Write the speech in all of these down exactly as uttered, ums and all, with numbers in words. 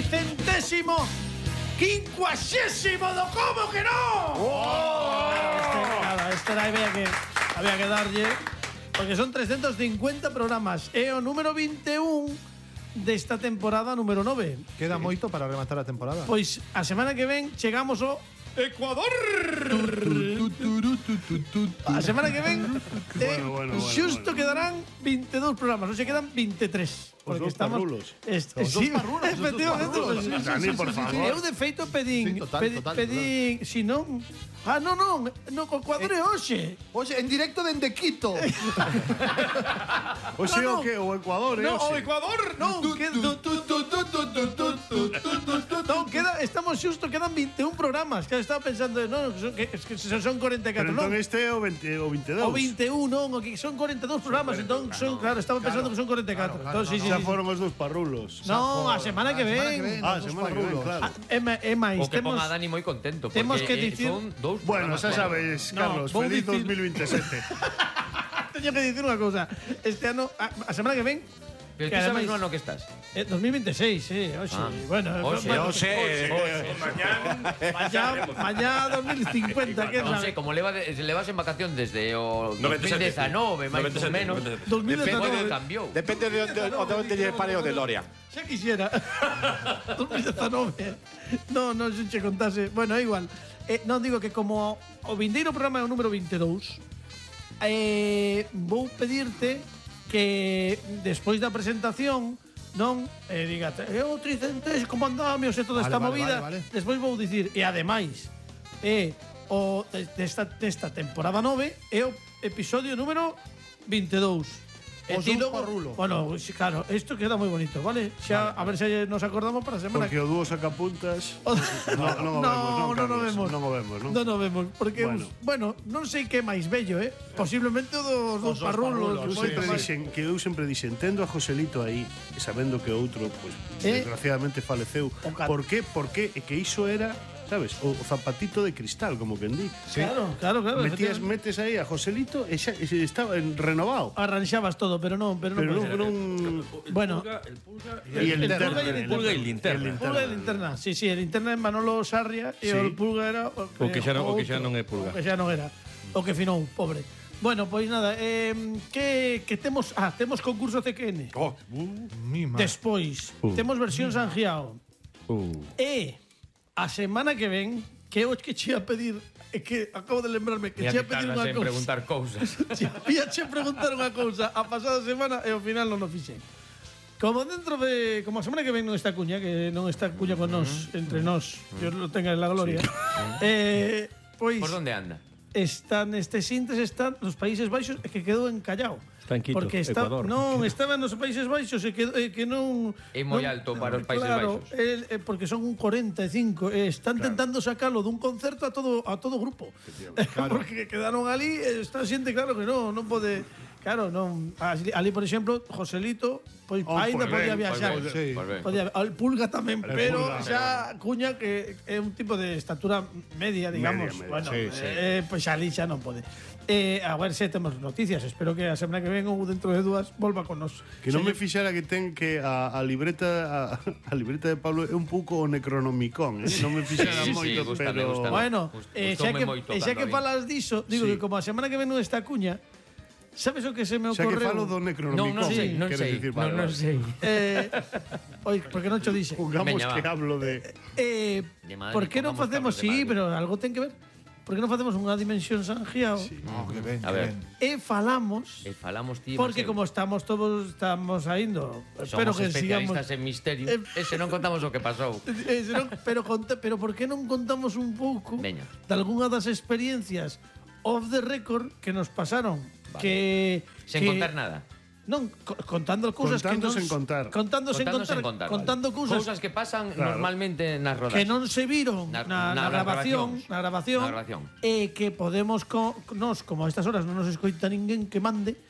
tricentésimo quincuagésimo do Como que non? Oh! Este, nada, este era había que, había que darlle, porque son trescientos cincuenta programas. É o número veintiún desta temporada número nove. Queda moito para rematar a temporada. Pois a semana que ven chegamos ao Ecuador. A semana que ven eh, Bueno, bueno, bueno, xusto bueno. quedarán veintidós programas, ou se quedan veintitrés. Os dous parrulos. Est, Os sí, dous parrulos, os dous efectivamente. parrulos. Pues, Dani, por favor. Eu de feito pedín, Sí, total, pedi, total, pedín, si non, ah, non, non, no, co cuadro é hoxe. Oxe, en directo dende Quito. O sea, No, no. o que? O Ecuador, eh? No, o o sea. Ecuador, non, que, non, queda, estamos xusto, quedan veintiún programas. Que estaba pensando, non, que son, que, es que son cuarenta e Pero catro, non. entón este é o veinte, o veintidós. O veintiún, non, o que son cuarenta e dous programas, entón son, claro, estaba pensando que son cuarenta e catro. Entón, sí, sí, Xa sí. foron os dous parrulos. No, a semana que ven. Ah, semana que ven, claro. Ah, é ma- é máis, O que temos ponga a Dani moi contento, porque temos que eh, dicir- son dous Bueno, programas xa claro. sabes, No, Carlos, vou feliz dicir- dos mil veintisiete. Teño que dicir unha cousa. Este ano, a, a semana que ven, Pero que tú sabes ademais- no ano que estás. eh, dos mil veintiséis, sí, oxe. Ah. Bueno, Oxe, bueno, oxe. Mañá, mañá dos mil cincuenta, que Non sabe? sei, como leva de, levas en vacación desde o noventa e sete. dos mil dezanove, máis ou noventa e sete, menos. noventa e sete. dos mil Depende, dezanove. cambiou. Depende de onde, de onde lle pare o DeLorean. Xa quixera. dos mil dezanove. No, non se che contase. Bueno, é igual. Eh, non digo que como o vindeiro programa é o número veintidós, eh, vou pedirte que despois da presentación non eh, dígate, é o tricentésimo, como andamos e toda Vale, esta vale, movida. vale, vale. Despois vou dicir, e ademais, é o de- desta, desta temporada nove é o episodio número veintidós. E Os ti dous logo- parrulos. Bueno, sí, claro, isto queda moi bonito, vale? Xa, a ver se nos acordamos para a semana. Porque o dúo sacapuntas O- no, non o vemos, non, non o Carlos? vemos. Non o vemos, non? Non o vemos, porque Bueno. bueno, bueno non sei que é máis bello, eh? Posiblemente o dos, dos dos parrulos. parrulos, Eu moito sempre máis. dixen que eu sempre dixen tendo a Joselito aí e sabendo que o outro pues, Eh? desgraciadamente faleceu. O cat- Por qué? Porque é que iso era, sabes, o, o zapatito de cristal, como quen di. Claro, claro, claro. Metías efectivamente. metes aí a Joselito e xa e se estaba en renovado. Arranxabas todo, pero non, pero non. Pero puede non, ser. non Bueno, El pulga e el el linterna. pulga y el el pulga y linterna. linterna. Pulga e linterna. Sí, sí, el linterna é Manolo Sarria e Sí. o pulga era o, O que xa non- o que xa outro. non é pulga. O que xa non era. O que finou, pobre. Bueno, pois nada, eh, que, que temos... Ah, temos concurso C Q N. Oh, Mi madre. Despois, Uh. temos versión San Giao. uh. E a semana que ven, que eu que che ia pedir, é que acabo de lembrarme que Mira che ia que pedir tardas unha en cousa. preguntar cousas. Ia che preguntar unha cousa a pasada semana e ao final non o fixen. Como dentro de como a semana que ven non está Cuña, que non está Cuña con nós, entre nós, Dios lo tenga en la gloria. Eh, pois Por onde anda? están estes intes están nos Países Baixos e que quedou encallado. Está en Quito, porque está, Ecuador. non, estaba nos Países Baixos e que, e que non É moi non- alto para os Países claro, Baixos. el- eh, porque son un cuarenta e cinco e están tentando sacalo dun concerto a todo a todo grupo. porque quedaron ali e está xente claro que non, non pode. Claro, non. Ali, ali, por exemplo, Joselito, pois Oh, aínda pois podía ben, viaxar. pois ben, Sí. Pois ben. Podía, al Pulga tamén, El pero Pulga, xa Cuña que é un tipo de estatura media, digamos. Media, media. Bueno, Sí, sí. eh, pois ali xa non pode. Eh, a ver se temos noticias. Espero que a semana que ven ou dentro de dúas volva con nos. Que non me fixara que ten que a, a libreta a, a libreta de Pablo é un pouco o Necronomicon, eh? Non me fixara Sí, sí, moito, gústame, pero gústame. Bueno, Gust- eh, xa gustoume que, moito e xa cando que vi. falas diso, digo Sí. que como a semana que ven non está Cuña, sabes o que se me xa que ocorreu? falo do Necronomicon. Non, non sei, non queres sei. dicir, Non, vale, non vale. sei. Eh, oi, porque non cho dixe. Jugamos Veña, que va. hablo de Eh, De Madrid, por que non pongamos facemos, cabros de sí, Madrid. pero algo ten que ver. Por que non facemos unha dimensión San Giao? Oh, que ben, A que ver. ben. E falamos E falamos ti. porque Maseu. como estamos todos estamos saindo, espero Somos que sigamos. especialistas en misterio. Eh, Ese non contamos o que pasou. Eh, se non- pero conta, pero por que non contamos un pouco Veña. de algunha das experiencias off the record que nos pasaron, Vale. que Sen que, contar nada. Non, co- contando cousas Contando que non sen contar. contando sen Contando contar, sen contar, contando vale. cousas Cousas que pasan Claro. normalmente nas rodas. que non se viron Na- na, na, na grabación, grabacións. na grabación, Na grabación. e que podemos co, nos, como a estas horas non nos escoita ninguén que mande,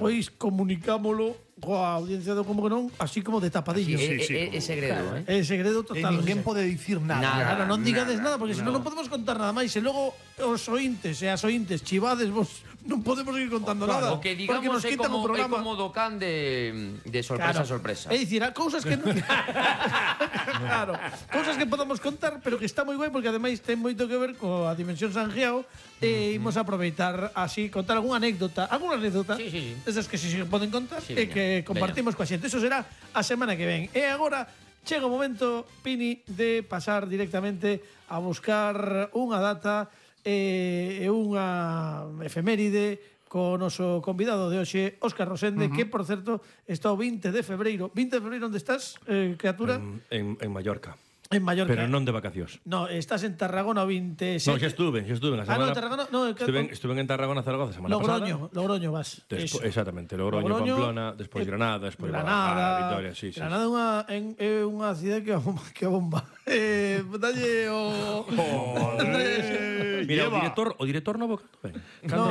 pois comunicámolo coa audiencia do como que non, así como de tapadillo. Sí, Sí, sí, é, é, é segredo, eh? É segredo E total. ninguén o sea. pode dicir nada. Nada. Claro, non digades nada, nada, porque senón no. non podemos contar nada máis. E logo os ointes e as ointes chivades vos non podemos seguir contando nada. O que porque digamos nos é quitan o como, é programa. como do can de, de sorpresa Claro. a sorpresa. É dicir, a cousas que non... Claro, cousas que podamos contar, pero que está moi guai porque ademais ten moito que ver coa Dimensión Sanjiao e imos aproveitar así contar algunha anécdota, algunha anécdota Sí, sí, sí. desas que si se poden contar Sí, e veña, que compartimos coa xente. Eso será a semana que ven. E agora chega o momento, Pini, de pasar directamente a buscar unha data e unha efeméride co noso convidado de hoxe, Óscar Rosende, uh -huh. que, por certo, está o vinte de febreiro. vinte de febreiro, onde estás, eh, criatura? En, en, en Mallorca. En Mallorca. Pero non de vacacións. No, estás en Tarragona o veintisiete. No, xa estuve, xa estuve na Ah, no, semana. en Tarragona, no, que- estuve, estuve en Tarragona, Zaragoza, semana Logroño, pasada. Logroño vas. Despo, Eso. exactamente, Logroño, Logroño, Pamplona, despois eh, Granada, despois Granada, Guadalajara, Vitoria, sí, sí. Granada é unha en, é unha cidade que a bomba, que a bomba. Eh, dalle o Andrés. Mira, o Lleva. director, o director novo cando ven. No,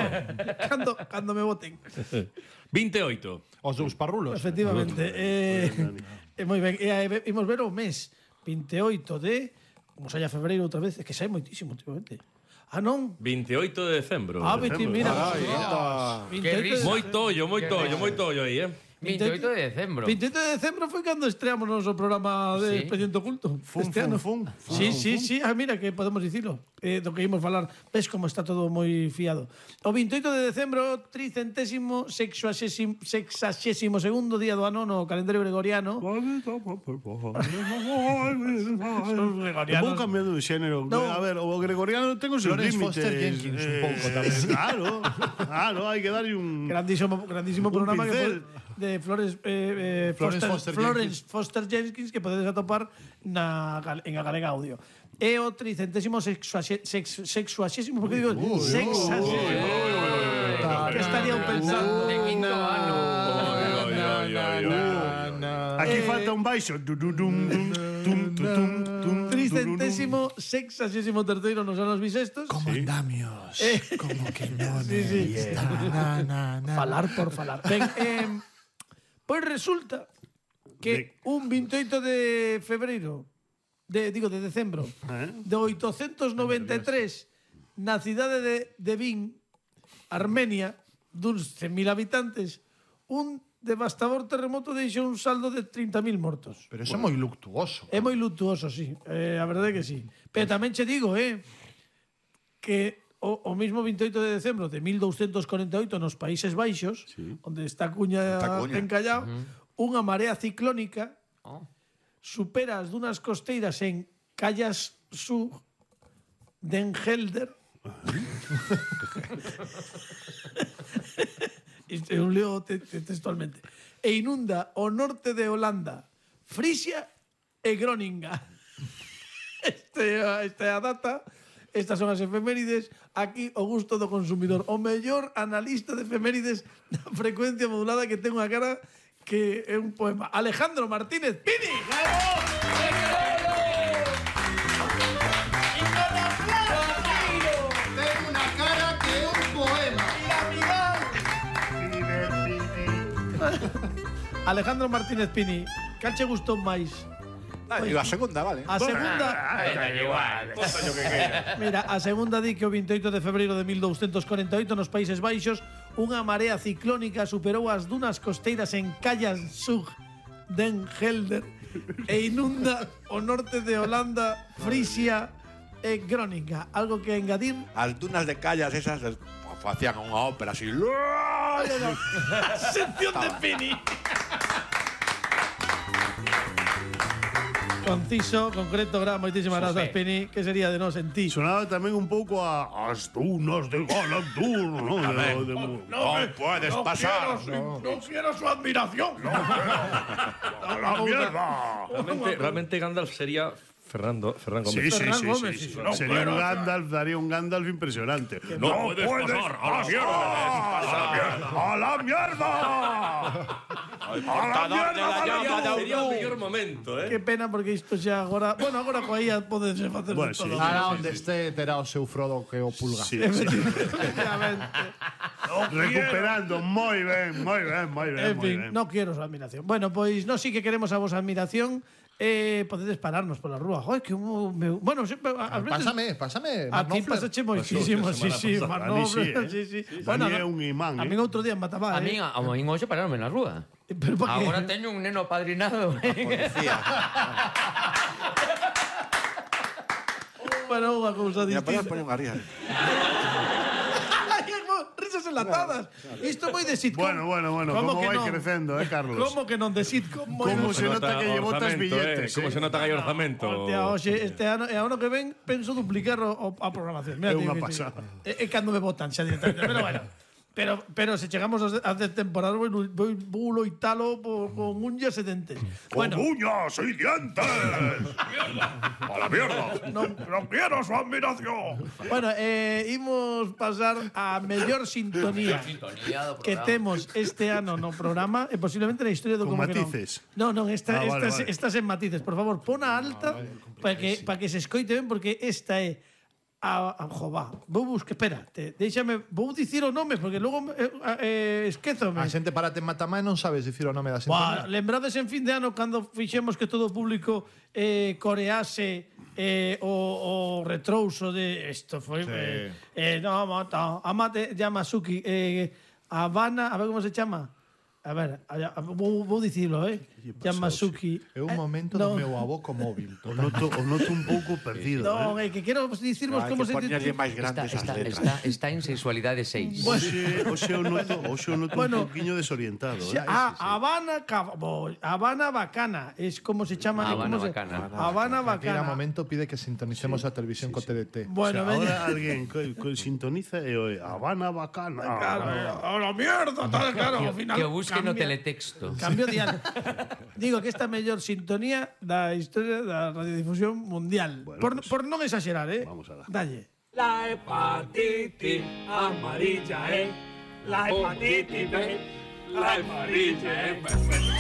cando cando me voten. vinte e oito. Os dous parrulos. Efectivamente. Eh, eh, moi ben, e eh, imos ver o mes vinte e oito de como saia febreiro outra vez, é que sai moitísimo últimamente. Ah, non? vinte e oito de decembro. Ah, vinte, mira. Ai, anda. vinte e oito de- risa. Moito ollo, moito ollo, moito ollo aí, eh. vinte e oito de decembro. vinte e oito de decembro foi cando estreamos o noso programa de Sí. Expediente Oculto. Fun, este ano. fun, fun. Sí, sí, sí. Ah, mira, que podemos dicilo. Eh, do que imos falar. Ves como está todo moi fiado. O vinte e oito de decembro, tricentésimo, sexuaxésimo, sexaxésimo segundo día do ano no calendario gregoriano. Vou cambiando de xénero. No. A ver, o gregoriano ten os seus Florence límites. Foster Jenkins, un pouco tamén. Claro, claro, hai que darlle un... Grandísimo, grandísimo Un programa que pincel. pod- de Flores, eh, eh, Florence Foster, Foster Florence Foster Jenkins que podedes atopar na, gal- en a Galega Audio. E o tricentésimo sexuaxe- sex- sexuaxésimo, porque digo sexaxésimo. Que estaría pensando? De quinto ano. Aquí Eh, falta un baixo. Du, du, dum, dum, tum, tu, tum, tum, Tricentésimo sexaxésimo terceiro nos anos bisestos. Como andamios. Como que non Sí, sí. está. Na, na, na. Falar por falar. Ben, eh, pois resulta que un vinte e oito de febreiro, de, digo, de decembro, Eh? de oitocentos noventa e tres, na cidade de, de Vin, Armenia, duns cen mil habitantes, un devastador terremoto deixou un saldo de trinta mil mortos. Pero eso é moi luctuoso. É moi lutuoso, sí. Eh, a verdade é que sí. Pero tamén che digo, eh, que o, o mismo vinte e oito de decembro de mil douscentos corenta e oito nos Países Baixos, sí. onde está Cuña, Está Cuña. encallado, uh -huh. unha marea ciclónica Oh. supera as dunas costeiras en Callas Sur den Helder. Isto é un leo te, te, textualmente. E inunda o norte de Holanda, Frisia e Groninga. Este, esta é a data, estas son as efemérides. Aquí o gusto do consumidor. O mellor analista de efemérides da frecuencia modulada que ten unha cara que é un poema. Alejandro Martínez Pini. Ten unha cara que é un poema. Alejandro Martínez Pini. Cal che gustou máis? Ah, e a segunda, vale. A segunda, mira, a segunda di que o vinte e oito de febreiro de mil douscentos corenta e oito nos Países Baixos unha marea ciclónica superou as dunas costeiras en Callas Sur den Helder e inunda o norte de Holanda, Frisia e Groninga. Algo que engadir? As dunas de callas esas eh, facían unha ópera así. Sección de Pini. Conciso, concreto, gran, moitísimas grazas, Pini. Que sería de nos en ti? Sonaba tamén un pouco a as dunas de Galantur, ¿no? De, de, No puedes pasar. No, no quiero su admiración. ¡A la mierda! Realmente, realmente Gandalf sería Fernando, Ferran Gómez. Sí, sí, Ferran sí, Gómez, sí, sí, sí. no Sería puedo, un Gandalf, daría un Gandalf impresionante. ¡No puedes pasar! ¡A la mierda! ¡A la mierda! Portador de la llama de Sería o Aurú. mellor momento, eh? Qué pena porque isto xa agora, bueno, agora coa I A podense facer Bueno, de todo. sí. Ahora onde este terá o seu Frodo que o pulga. Sí, sí. Efectivamente. Recuperando, moi ben, moi ben, moi ben, En moi fin, ben. no quiero su admiración. Bueno, pois no sí que queremos a vosa admiración. Eh, podedes pararnos pola rúa. Joder, que un, me, bueno, sempre, a, a veces Pásame, pásame. a ti Manofler. pasache moitísimo, Pasou sí, a sí, semana pasada. manobra, A mí sí, sí, sí. eh. A mí é un imán, A eh. min outro día en Matamá, A eh. min, a min hoxe pararme na rúa. Pero pa que? Agora teño un neno padrinado. Policía. Bueno, unha cousa Mira, distinta. podemos poner unha risa. Risas enlatadas. Isto moi de sitcom. Bueno, bueno, bueno, Como como que vai non? crecendo, eh, Carlos? Como que non de sitcom? Moi Como de- se nota que lle botas orzamento, billetes, Eh? Como eh? se nota que hai orzamento. Hostia, hoxe, este ano, e ano que ven penso duplicar o, o, a programación. Mira, É tío, unha que sí. pasada. É, é cando me botan xa directamente. Pero bueno. Pero, pero se chegamos a hacer temporada, vou, vou, vou loitalo por, con unhas e dentes. Bueno, uñas y dientes! ¡A la mierda! non, non quiero su admiración. Bueno, eh, imos pasar a mellor sintonía Sintonía do que programa. temos este ano no programa e posiblemente na historia do Con Como que non. matices. Non, non, esta, Ah, vale, esta, vale. esta sen matices. Por favor, pon a alta para que, pa que se escoite ben, porque esta é a, a jová. Vou buscar, espera, te, déxame, vou dicir o nome, porque logo eh, eh, esquézome. A xente parate en Matamá e non sabes dicir o nome da Buah, sintonía. lembrades en fin de ano cando fixemos que todo o público eh, corease eh, o, o retrouso de isto foi Sí. eh, eh, no, mata, Amate Yamasuki eh, Habana, a ver como se chama. A ver, a, a, vou, vou dicilo, eh. Yamasuki. É un Eh, momento non. do meu avó co móvil. O noto, o noto un pouco perdido, Non, eh? é que quero dicirvos Hai como que se poñerlle máis Está, grandes as está, letras. está, está en sexualidade seis. Oxe, oxe o noto, oxe o noto Bueno. un pouquiño desorientado, eh? Ah, Habana, Cab- bo, Habana Bacana, es como se chama. Habana como se- Bacana. Habana Aquela Bacana. momento pide que sintonicemos a televisión co T D T. Bueno, O sea, veña. ahora alguén co, co, sintoniza e oe Habana Bacana. Claro, eh, a la mierda, tal, claro, ao final. Que o busque no cambia- teletexto. Cambio dial. Digo que esta mellor sintonía da historia da radiodifusión mundial. Bueno, por, pues, por non exagerar, eh? vamos alá. Dalle. La hepatitis amarilla es la hepatitis B, la amarilla es perfecta.